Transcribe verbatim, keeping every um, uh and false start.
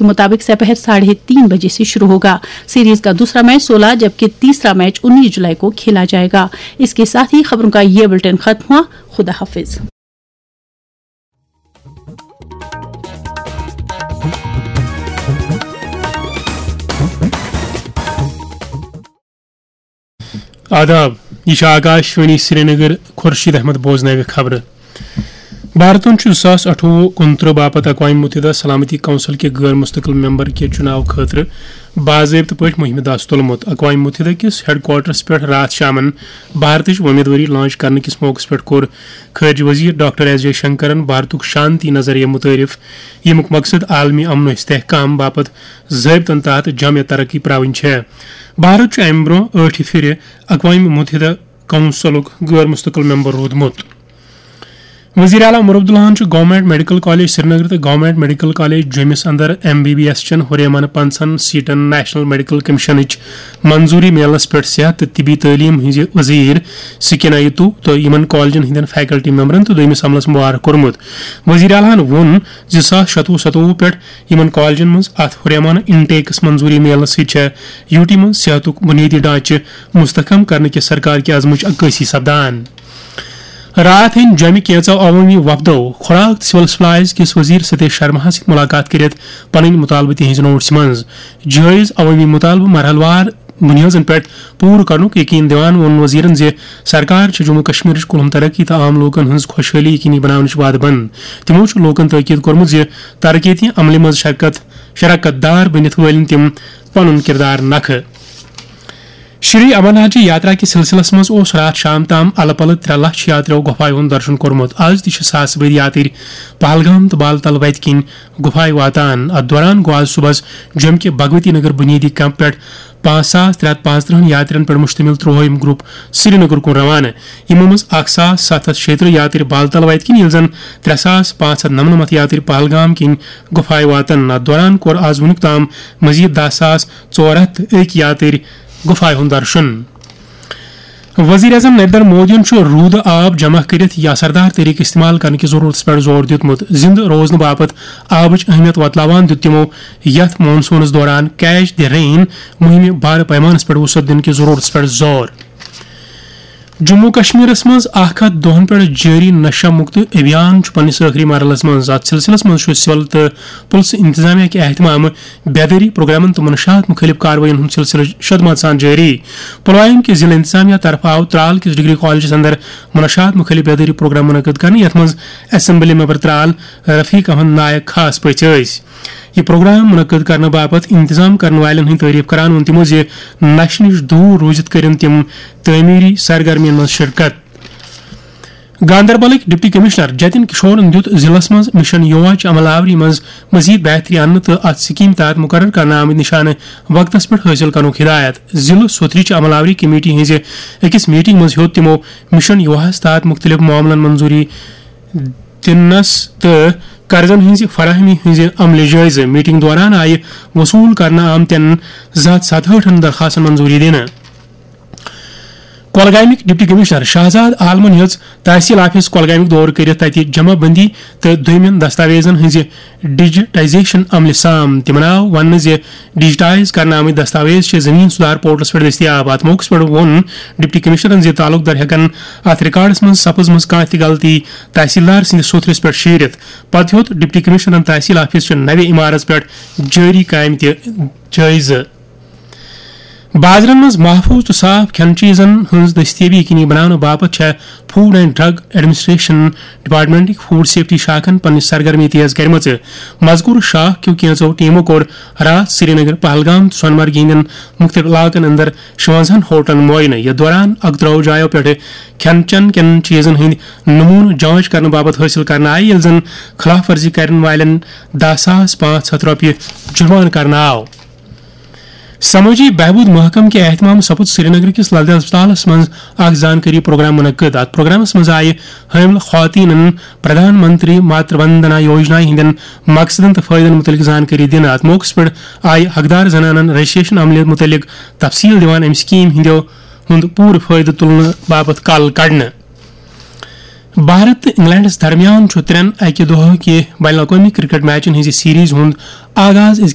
के मुताबिक सपहर साढ़े तीन बजे से शुरू होगा। सीरीज का दूसरा मैच सोलह, जबकि तीसरा मैच उन्नीस जुलाई को खेला जाएगा। इसके साथ ही खबरों का ये बुलेटिन खत्म हुआ। खुदा हाफिज। آداب، یہ چھِ آکاشوانی سرینگر۔ خورشید احمد بوزناوِ خبرٕ۔ بھارتن چھُ زٕ ساس اَٹھووُہ کُنترٕہ باپتھ اقوام متحدہ سلامتی کونسل کہِ غٲر مستقل ممبر کہِ چُناو خٲطرٕ باضٲبطہٕ پٲٹھۍ مُہِمہِ دَس تُلمُت۔ اقوام متحدہ کِس ہیڈ کوارٹرس پٮ۪ٹھ راتھ شامن بھارتٕچ وۄمیدوٲری لانچ کرنہٕ کِس موقعس پٮ۪ٹھ کوٚر خارجہ وزیر ڈاکٹر ایس جے شنکرن بھارتُک شانتی نظریہ متعارف، ییٚمیُک مقصد عالمی امن و استحکام باپتھ ضٲبطن تحت جامع ترقی پراوٕنۍ چھےٚ۔ بھارت چھُ امہِ برٛونٛہہ ٲٹھہِ پھِرِ اقوام متحدہ کونسلُک غٲر مستقل ممبر روٗدمُت۔ وزیر اعلیٰ عمر عبداللہن چھُ گورنمنٹ میڈیکل کالج سرینگر تہٕ گورنمنٹ میڈیکل کالج جوٚمِس اندر ایم بی بی ایس چٮ۪ن ہُریمانہٕ پنٛژاہن سیٹن نیشنل میڈیکل کمیشنٕچ منظوری میلنس پٮ۪ٹھ صحت تہٕ طبی تعلیٖم ہٕنٛزِ وزیر سکینہ یتو تہٕ یِمن کالجن ہٕنٛدٮ۪ن فیکلٹی ممبرن تہٕ دوٚیمِس عملس مبارک کوٚرمُت۔ وزیر اعلیٰ ہن ووٚن زِ زٕ ساس شتوُہ ستوُہ پٮ۪ٹھ یِمن کالجن منٛز اتھ ہُریمانہٕ انٹیکس منظوری میلنہٕ سۭتۍ چھےٚ یوٗٹی منٛز صحتُک بُنیٲدی ڈھانچہٕ مستحکم کرنہٕ کِس سرکار کہِ عزمٕچ عکٲسی سپدان۔ راتھ ہیٚنۍ جۄمہِ کینٛژو عوٲمی وفدو خوراک تہٕ سول سپلائز کِس وزیر ستیش شرماہس سۭتۍ مُلاقات کٔرِتھ پنٕنۍ مُطالبہٕ تِہنٛزِ نوٹسہِ منٛز۔ جٲیز عوٲمی مُطالبہٕ مرحلہٕ وار بُنیٲدن پٮ۪ٹھ پوٗرٕ کرنُک یقین دِوان ووٚن وزیرن زِ سرکار چھِ جموں کشمیرٕچ کُلہُم ترقی تہٕ عام لوٗکن ہٕنٛز خۄشحٲلی یقینی بناونٕچ وعدٕ بنٛد۔ تِمو چھُ لوٗکن تٲکید کوٚرمُت زِ ترقیتی عملہِ منٛز شرکت شراکت دار بٔنِتھ وٲلِن تِم پنُن کردار نکھٕ۔ شری امرناتھ جی یاترا کِس سلسلس منٛز اوس راتھ شام تام الہٕ پلہٕ ترٛےٚ لچھ یاتریو گۄپھایہِ ہُنٛد درشن کوٚرمُت۔ از تہِ چھِ ساسہٕ بٔدۍ یاترۍ پہلگام تہٕ بالتل وتہِ کِنۍ گۄپھایہِ واتان۔ اتھ دوران گوٚو از صبحس جوٚم کہِ بھگوتی نگر بُنیٲدی کیمپ پٮ۪ٹھ پانٛژھ ساس ترٛےٚ ہتھ پانٛژترٕہن یاترین پٮ۪ٹھ مشتمل ترٛوہٲیِم گروپ سرینگرکُن روانہٕ۔ یِمو منٛز اکھ ساس ستھ ہتھ شیٚیہِ ترٕٛہ یاترۍ بالتل وتہِ کِنۍ، ییٚلہِ زن ترٛےٚ ساس پانٛژھ ہتھ نمنمتھ یاترۍ پہلگام کِنۍ گۄپھایہِ واتن۔ اتھ دوران کوٚر از وُنیُک تام مزید دَہ ساس ژور ہتھ تہٕ أکۍ یاترۍ گۄپھایہِ ہُنٛد درشن۔ وزیر اعظم نریندر مودیَن چھُ روٗدٕ آب جمع کٔرِتھ یا اثردار طریقہٕ استعمال کرنہٕ کِس ضروٗرتس پٮ۪ٹھ زور دیُتمُت۔ زِنٛدٕ روزنہٕ باپتھ آبٕچ اہمیت وۄتلاوان دیُت تِمو یتھ مانسونس دوران کیچ دی رین مُہِمہِ بارٕ پیمانس پٮ۪ٹھ وُسعت دِنہٕ کِس ضروٗرتس پٮ۪ٹھ زور۔ جموں کشمیرس منٛز اکھ ہتھ دۄہن پٮ۪ٹھ جٲری نشہ مُکت ابھیان چھُ پننِس ٲخری مرحلس منٛز۔ اتھ سلسلس منٛز چھُ سول تہٕ پُلسہٕ انتظامیہ کہِ اہتمامہٕ بیدٲری پروگرامن تہٕ منشیات مُخٲلف کاروٲیین ہُنٛد سلسلہٕ شدمات سان جٲری۔ پلوامہ کہِ ضلع انتظامیہ طرفہٕ آو ترال کِس ڈگری کالجس اندر منشیات مُخٲلف بیدٲری پروگرام منعقد کرنہٕ، یتھ منٛز اسمبلی ممبر ترال رفیق احمد نائک خاص پٲٹھۍ ٲسۍ۔ یہِ پروگرام منعقد کرنہٕ باپتھ انتظام کرن والٮ۪ن ہٕنٛز تعریف کران ووٚن تِمو زِ نشہٕ نِش دوٗر روٗزِتھ کٔرِن تِم تعمیٖری سرگرمین منٛز شرکت۔ گاندربلٕکۍ ڈپٹی کمشنر جتن کشورن دیُت ضلعس منٛز مشن یووا چہِ عمل آوری منٛز مزید بہتری اننہٕ تہٕ اتھ سکیمہِ تحت مقرر کرنہٕ آمٕتۍ نشانہٕ وقتس پٮ۪ٹھ حٲصِل کرنُک ہدایت۔ ضلعہٕ سوتھرِ چہِ عمل آوری کمیٹی ہٕنٛزِ أکِس میٹنگ منٛز ہیوٚت تِمو مشن یوواہس تحت مختلف معاملن منظوری دِنس تہٕ قرضن ہٕنٛزِ فراہمی ہٕنٛزِ عملہِ جٲیزٕ۔ میٹنگ دوران آیہِ وصوٗل کرنہٕ آمتٮ۪ن زٕ ہتھ ستہٲٹھن درخواستن منظوٗری دِنہٕ۔ کۄلگامٕکۍ ڈپٹی کمشنر شہزاد عالمن ہیٚژ تحصیل آفس کۄلگامیُک دورٕ کٔرِتھ تتہِ جمع بندی تہٕ دوٚیمٮ۪ن دستاویزن ہٕنٛزِ ڈیجیٹائزیشن عملہِ سام۔ تِمن آو وننہٕ زِ ڈیجیٹائز کرنہٕ آمٕتۍ دستاویز چھِ زمین سدھار پورٹلس پٮ۪ٹھ دٔستیاب۔ اتھ موقعس پٮ۪ٹھ ووٚن ڈپٹی کمشنرن زِ تعلق دار ہٮ۪کن اتھ ریکارڈس منٛز سپٕزمٕژ کانٛہہ تہِ غلطی تحصیلدار سٕنٛدِس سوٚتھرِس پٮ۪ٹھ شیٖرِتھ۔ پتہٕ ہیوٚت ڈپٹی کمشنرن تحصیل آفس چہِ نوِ عمارژ پٮ۪ٹھ جٲری کامہِ تہِ جٲیزٕ۔ بازرن منٛز محفوٗظ تہٕ صاف کھٮ۪نہٕ چیٖزن ہٕنٛز دٔستیٲبی یقینی بناونہٕ باپتھ چھےٚ فوڈ اینڈ ڈرگ ایڈمنسٹریشن ڈپارٹمنٹٕکۍ فوڈ سیفٹی شاخن پننہِ سرگرمی تیز کرِمژٕ۔ مذکور شاخ کیو کینژو ٹیمو کوٚر راتھ سرینگر، پہلگام تہٕ سونمرگہِ ہٕنٛدٮ۪ن مُختٔلِف علاقن اندر شُوَنزاہن ہوٹلن معائنہٕ۔ یتھ دوران اکترٛوہ جایو پٮ۪ٹھٕ کھٮ۪ن چٮ۪ن کٮ۪ن چیٖزن ہٕنٛدۍ نموٗنہٕ جانچ کرنہٕ باپتھ حٲصِل کرنہٕ آیہِ، ییٚلہِ زن خلاف ورزی کرن والٮ۪ن دَہ ساس پانٛژھ ہتھ رۄپیہِ جُرمانہٕ کرنہٕ آو۔ سمٲجی بہبود محکمہٕ کہِ اہتمام سپُد سرینگر کِس لل دٮ۪د ہسپتالس منٛز اکھ زانکٲری پروگرام منعقد۔ اتھ پروگرامس منٛز آیہِ حٲملہٕ خواتینن پردھان منتری ماتر وندنا یوجنا ہٕنٛدٮ۪ن مقصدن تہٕ فٲیدن مُتعلق زانکٲری دِنہٕ۔ اتھ موقعس پٮ۪ٹھ آیہِ حقدار زنانن رجسٹریشن عملہِ مُتعلق تفصیل دِوان امہِ سکیٖم ہٕنٛدیو ہُنٛد پوٗرٕ فٲیدٕ تُلنہٕ باپتھ کل کڑنہٕ۔ بھارت تہٕ انگلینڈس درمیان چھُ ترٛٮ۪ن اکہِ دۄہہٕ کہِ بین الاقوٲمی کرکٹ میچن ہٕنٛزِ سیریز ہُنٛد آغاز أزۍ